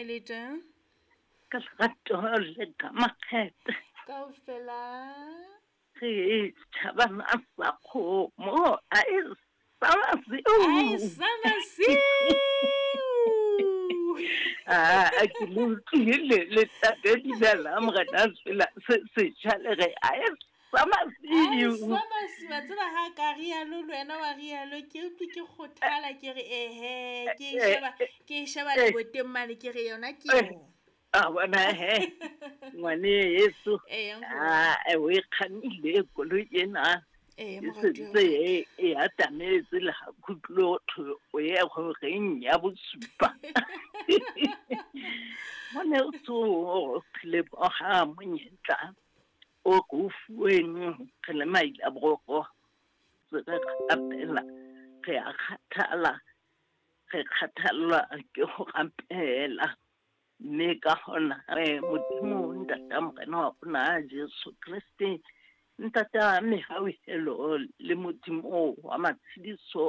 le teng? Ka lerato le ka makgethe. Kaofela. Re tšhabana sa kgomo a e sa masiu. A e sa masiu. A ke le utlwile le tate dumela morena sela se setšha le re a e sa masiu. Sa masiu wa tseba ha ka rialo le wena wa rialo ke utlwe ke kgothala ke re ehe ke e sheba ke e sheba leboteng mane ke re yona ke yona. A bona he ngwane yeso a o e kgannile koloi ena Ee, e moratuwa sentse e e atametse le ga khutlo thwe o ye go reng ya bosupa mone o tso re leboga monyetla o re o fuweng re le maila boroko re rapela re a kgathala re kgathallwa ke go rapela Mme ka gona re Modimo Ntata Morena wa rona Jesu Kriste, Ntata mehauhelo le Modimo wa matshediso.